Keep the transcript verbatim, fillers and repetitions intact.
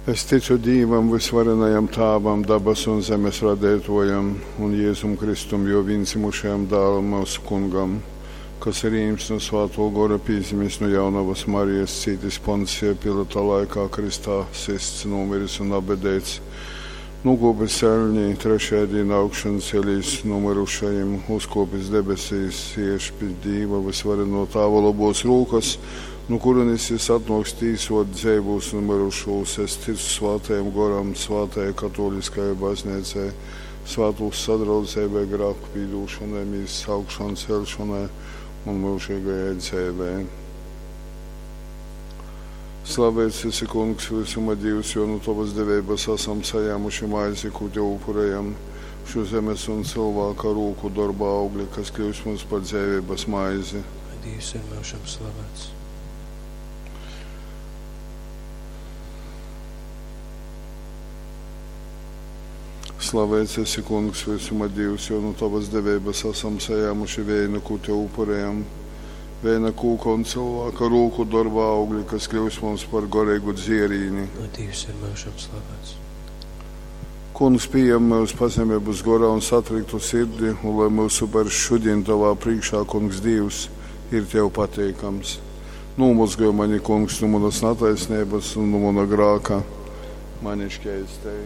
Es ticu Dīvam, vysvarenajam Tāvam, dabasu un zemes radeitōjam, un Jēzum Kristum, jō vīndzimušajam Dālam, myusu Kungam, kas ir ījimts nu Svātō Gora, pīdzimis nu jaunovas Marijas, cītis Poncija Pilata laikā, krystā systs, nūmiris un apbedeits, nūkōpis eļnī, trešajā dīnā augšan celīs nu myrušajim, uzkōpis debesīs, siež pi Dīva vysvarenō Tāva lobōs rūkas, nu kurienes jis atnōks tīsot dzeivūs un myrušūs. Es ticu Svātajam Goram, Svātajai Katōliskajai Bazneicai, svātūs sadraudzeibai, grāku pīdūšanai, mīsas augšām celšanai un myužīgajai dzeivei. Slavēts esi, Kungs, visuma Dievs, jo nu Tavas deveibas esam sajēmuši maizi, ko Tev upurējam, šo zemes un cilvēka rūku darba augli, kas kļūst mums par dzēvības maizi. Lai Dievs ir myužam slavēts. Slavēts esi, Kungs, visuma Dievs, jo nu Tavas deveibas esam sajēmuši veinu, ko Tev upurējam. Veina kūka un cilvēka rūku darba augļi, kas kļūst mums par garīgu dzierīni. Lai Dievs ir myužam slavēts. Kungs, pieņem mūsu pazemības gorā un satriktu sirdi, un lai mūsu upurs šodien Tavā priekšā, Kungs, Dievs, ir Tev pateikams. Nomazgoj mani, Kungs, no manas netaisnības un no mana grāka. Mani šķeistēji.